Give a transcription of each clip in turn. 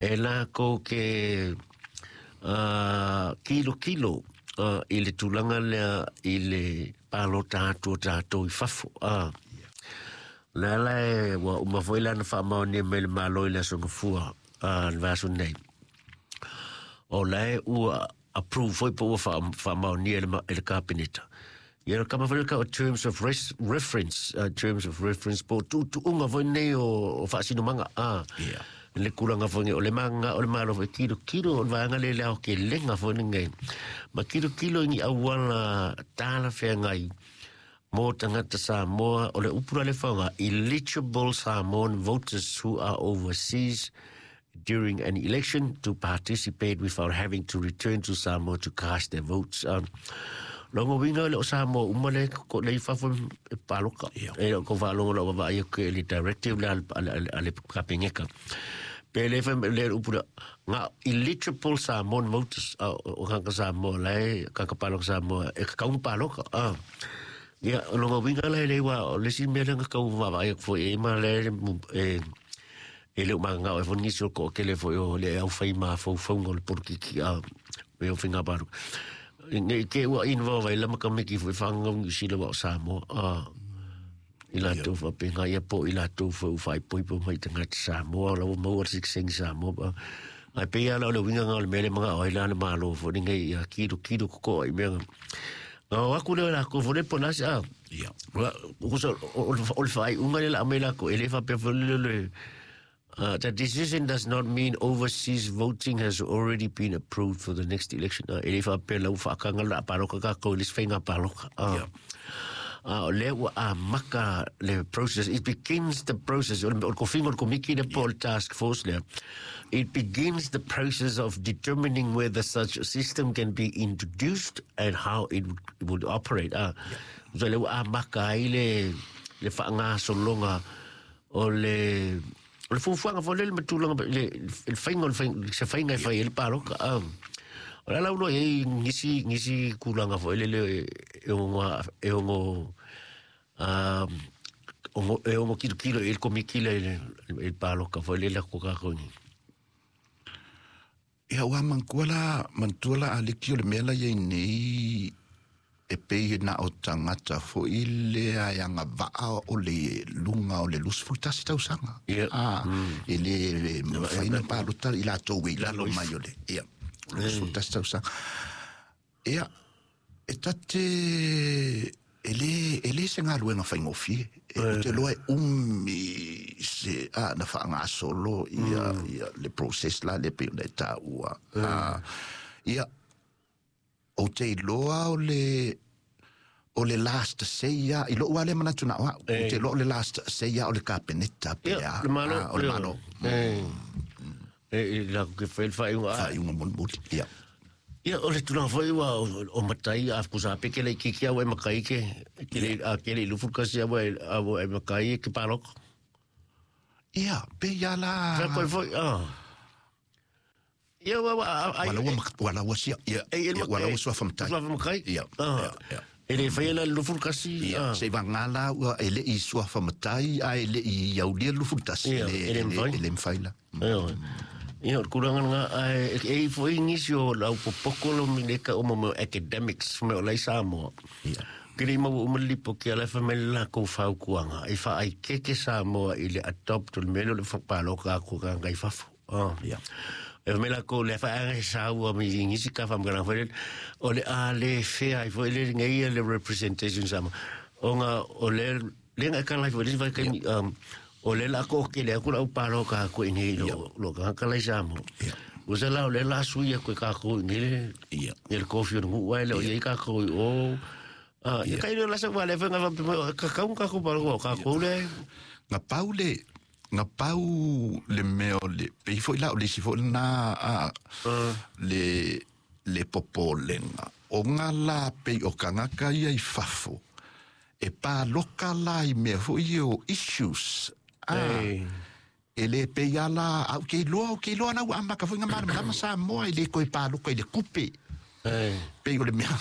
E lakou ke kilokilo i le tulaga lea i le palota atu o tatou i fafo. O le ala e ua uma foi la ona faamaonia mai le Malo i le Aso Gafua le vaiaso nei. O la e ua approve foi po ua faamaonia e le Kapeneta. Ia le kama foi le terms of reference, terms of reference po tuutuuga foi nei o faasinomaga. Le tulaga foi nei o le maga o le Malo foi kilokilo o le vaega lea le aotelega foi lenei. Ma kilokilo i ni auala talafeagai mo tagata Samoa o le upu la le faaaoga, eligible Samoan voters who are overseas during an election to participate without having to return to Samoa to cast their votes. Longa uiga le o Samoa uma le ko le i fafo e paloka. E o ko faalogo lau vaavaai atu i le directive lea a le Kapeneta. Pe le fai le upu lea, nga eligible Samoan voters, o tagata Samoa la e tagata paloka Samoa e tatau ona paloka. Ia, o lona uiga la e le ua o le isi mea lea na tau vaavaai atu foi i ai ma le e le o mananao ai foi nisi o le toatele foi o le aufai mafaufauga o le polokiki a me o faiga palota. Nei te ua involve ai la ma tamaiti foi fanau Niu Sila wa o Samoa i latou faapena ia po o i latou foi ua faaipoipo mai i tagata Samoa o la ua maua le sitiseni Samoa. Ae pei lava la o le uiga lena o le mea lea e manao ai la le Malo foi lenei ia kilokilo totoa i mea na. Na o atu lea o latou foi lea po o le a se a. O le faaiuga lea o le a aumai latou, e le faapea foi lea le the decision does not mean overseas voting has already been approved for the next election. E le faapea la ua faataga le a palota tatou i le isi faiga palota. O lea ua amata le process. It begins the process. O le tofiga o le komiti lea po o le task force lea. It begins the process of determining whether such a system can be introduced and how it would operate. So lea ua amata ai le faagasologa o le fuafuaga foi lele ma tulaga le faiga o le faiga, se faiga e fai ai le palota. O le ala ua i ai nisi tulaga foi lele e ono kilokilo i ai le komiti lea i le palota foi lele a ko tatou nei. Ia ua manatua la, manatua la Aleki o le mea la i ai nei e pei na o tagata foi lea e agavaa o le luga o le 21 tausaga. E le mafai ona palota i latou e i lalo mai o le ia 21 tausaga. Ia, e ta te e le se galuega faigofie. E ou te iloa e umi se a na faagasolo ia le process la lea pei ona e taua. Ia, ou te iloa o le last say ia, i lou lava lea manatu na o au, ou te iloa o le last say ia o le Kapeneta pe a, le Malo. O le Malo. E la ke fai le faaiuga. Faaiuga mulimuli, ia. Ia, o le tulaga foi ua o matai a kusa pe ke le kiki au e makai ke le a ke le lufu kasi au e au e makai ke paloko. Ia, pe ia la. Fa koi foi ah. Ia ua ai. Wala ua sia. Ia, wala ua suafa matai. Suafa matai. Ia. Ia. E le fai la 21. Ia, se vagala ua e le i suafa matai a e le i aulia 21. Ia, e le mafai. E le mafai la. Ia. Ia, o le tulaga lena, ae e i foi nisi o le aupopoko lo mi le ka o mo academics me o lai Samoa. Ke le maua uma le lipoti a la e fai mai le latou fautuaga e faaikeke Samoa i le adopt o le mea lea o le palota atu i tagata i fafo. E fai mai latou le faaega e saua mai nisi ka faamatalaga foi lele o le a le fea ai foi le nei le representation Samoa. Ona o le lea na e tala ai foi le isi vaitaimi o lea o le a toatele atu le au palota atu i inei i lo tagata la i Samoa. Ua se la o lea o le a sui atu e tatou i inei le ia le tofi o le nuu ae le o i ai tatou i o. Ia kai lea o la se ua le fai na faapea mai, tatau ona tatou palota o tatou lea. Na pau le mea o le pei foi la o le isi foi lena a le popolega o nga la pei o tagata ia i fafo e paloka la i mea foi ia o issues a e le pei ala au ke iloa o ke iloa la ua amata foi nga malamalama Samoa e le toe paloka i le tupe. Pei o le mea.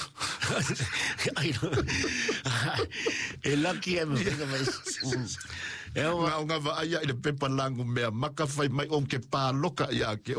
Ai no. E laki e me whenga mai. E o Nga o ngava aia i le pepa langu mea maka fai mai o ke pāloka ia ke.